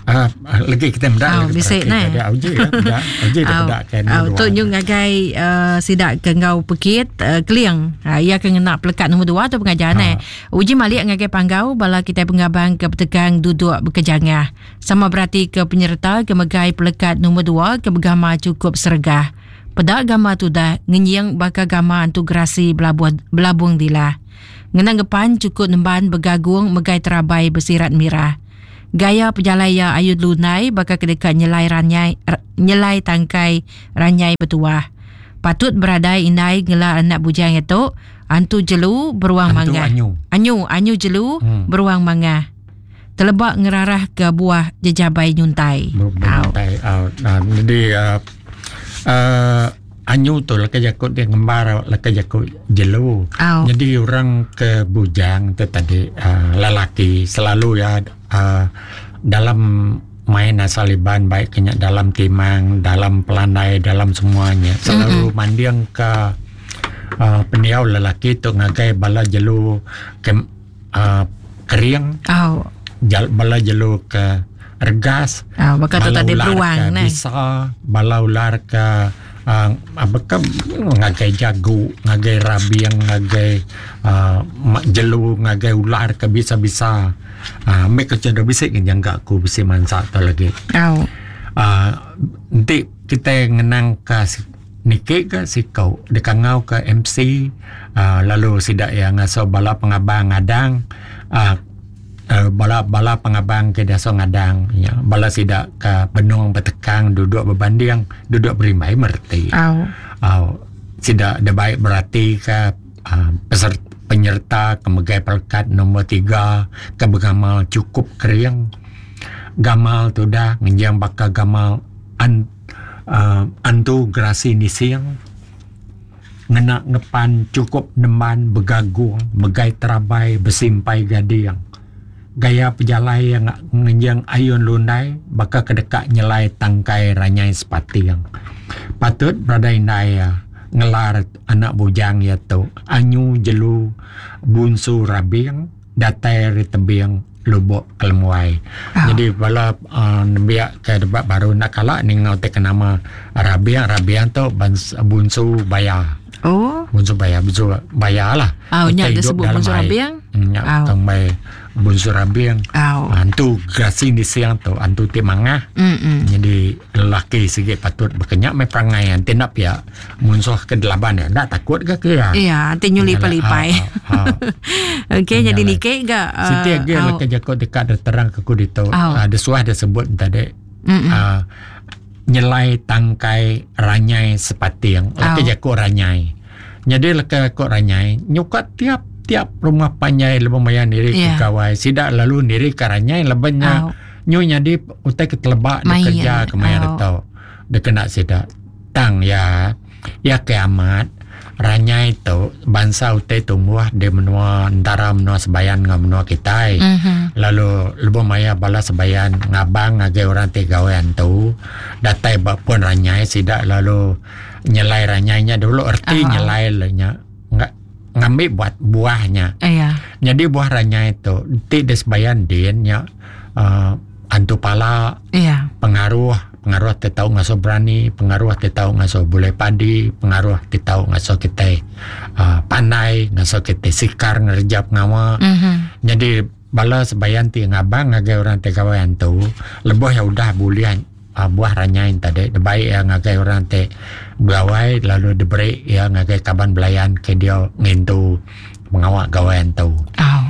Ah, lagi kita meda oh, bisi neh. Ada uji ya, meda. Uji dah peda kan. Au tu nyung ngagai uh, sida ke enggau pekit uh, keling. Uh, iya ke ngena pelekat nombor 2 tu pengajar neh. Uji malik ngagai panggau bala kitai pengabang ke betegang duduk bekejangah. Sama berati ke penyereta ke megai pelekat nombor 2 ke begama chukup seregah. Peda gama tudah ngenying baka gama antu gerasi belabuh belabung dilah. Ngena ngepan chukup nemban begagung megai terabai besirat mirah. Gaya pejalai iya ayun lunai baka ke deka nyelai ranyai nyelai tangkai ranyai betuah. Patut beradai indai ngela anak bujang iya tu. Antu jelu beruang Antu mangah. anyu. Anyu, anyu jelu Hmm. beruang mangah. Teleba ngerarah ke buah jejabai nyuntai. Au. Beruntai. Au. Nah, jadi anyu tu leka jaku dia ngembar leka jaku jelu. Au. Jadi orang ke bujang tu tadi lelaki selalu ya dalam main asal Iban baik ke nya dalam timang, dalam pelandai, dalam semuanya selalu mm-hmm. manding ke pendiau lelaki tu ngagai bala jelu ke kering. Au. Jal, bala jelu ke regas. Au, baka tu bala tadi ular beruang ke neh. Bisa, bala ular ke apa ke ngagai jagu, ngagai rabing, ngagai jelu, ngagai ular ke bisa-bisa. Ambil ke cendera bisik ke jangka aku bisi mansa tu lagi. Au. Enti kita ngenang ke niki ke sikau dikangau ke MC lalu sidak yang ngasuh bala pengabang ngadang bala bala pengabang ke diasuh ngadang ya bala sidak ke benung betekang duduk berbanding duduk berimbai mereti. Au. Au sidak de baik berati ke peserta penyerta ke megai pelekat nombor 3 ke bergamal cukup kering. Gamal tu dah ngenjang bakal gamal antu gerasi nising. Ngena ngepan cukup nemban begagung, megai terabai bersimpai gading. Gaya pejalai yang ngenjang ayun lundai bakal kedekak nyelai tangkai ranyai sepating. Patut berada indai ya ngelar anak bujang ya tu anyu jelu bunsu rabing datai ari tebing lubok kelemuai. Jadi bala nembiak ke debat baru nak kala ni ngau te nama rabing, rabing tu bunsu baya. Oh. Bunsu baya, bunsu baya lah. Oh, nya Utai dia hidup sebut dalam bunsu air. rabing? Nya Au. tang mai bunsu rabing. Au. Antu gerasi di siang tu, antu ti mangah. Jadi lelaki sikit patut berkenyak mai perangai anti nak pia munsuh ke delaban ya. Ndak takut ke ke ya? Iya, anti nyuli Nyala, pelipai. Okey, jadi Nyala. nikik ga, Siti lagi au. leka jakut dekat ada terang ke ku ditu. Au. Ada suah dia sebut tadi. Nyelai tangkai ranyai sepating. Leka Au. jakut ranyai. Jadi leka jakut ranyai nyukat tiap tiap rumah panjai lebih maya niri ke Ya. gawai. Sidak lalu niri ke ranyai lebihnya Au. nyu jadi utai ketelebak dia Main. kerja ke maya Au. tau. Dia kena sidak. Tang ya, ya kiamat ranyai tu bangsa utai tumbuh di menua antara menua sebayan dengan menua kita. Lalu lebih maya bala sebayan ngabang ngagai orang ti gawean tu datai bak pun ranyai sidak lalu nyelai ranyainya dulu erti nyelai le nya. Nga, ngambil buat buahnya. Iya. Jadi buah ranyai tu ti di sebayan din nya antu pala. Iya. Pengaruh, pengaruh te tau ngaso berani, pengaruh te tau ngaso boleh padi, pengaruh te tau ngaso kita pandai, ngaso kita sikar ngerja pengawa. Jadi bala sebayan ti ngabang ngagai orang te gawean tu, leboh ya udah bulian buah ranyai tadi, baik ya ngagai orang te gawai lalu diberi ya ngagai kaban belayan ke dia ngintu pengawak gawean tu. Au.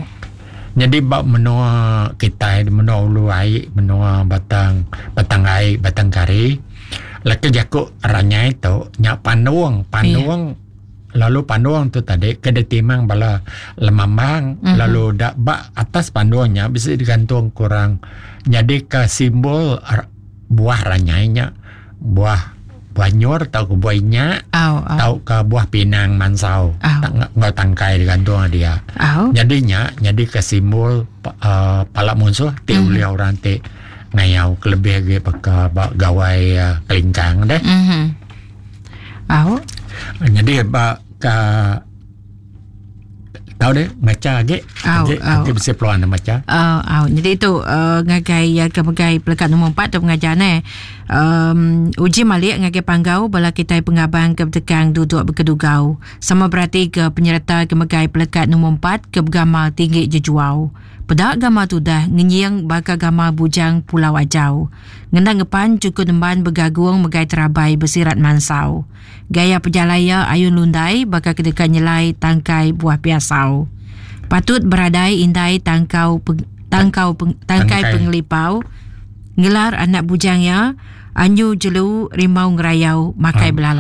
Jadi bab menua kita, menua ulu air, menua batang, batang air, batang kari, laki jakuk ranyai tu nyak panduang, panduang. Lalu panduang tu tadi ke ditimang bala lemambang, lalu dak bak atas panduangnya bisa digantung kurang. Jadi ke simbol buah ranyainya, buah buah nyor tau ke buah inyak, Au, au. tau ke buah pinang mansau. Au. Tak ngau tangkai digantung dia. Au. Jadinya jadi ke simbol palak musuh ti ulia orang ti ngayau kelebih lagi pakai bak gawai kelingkang deh. Au. Jadi bak ke tahu deh baca lagi. Au, Lagi, au. lagi bisa peluang nak baca. Au, au. Jadi itu ngagai ya ke megai pelekat nombor 4 tu pengajian. Uji malik ngagai panggau bala kita pengabang ke bertekang duduk berkedugau. Sama berarti ke penyerta ke megai pelekat nombor 4 ke bergamal tinggi jejuau. Pedak gama tu dah ngenying bakal gama bujang Pulau Ajau. Ngendang ngepan cukup nemban bergagung megai terabai bersirat mansau. Gaya pejalaya ayun lundai bakal kedekat nyelai tangkai buah piasau. Patut beradai indai tangkau peng, tangkau peng, tangkai Tangkai. pengelipau. Ngelar anak bujangnya anyu jelu rimau ngerayau makai belalai.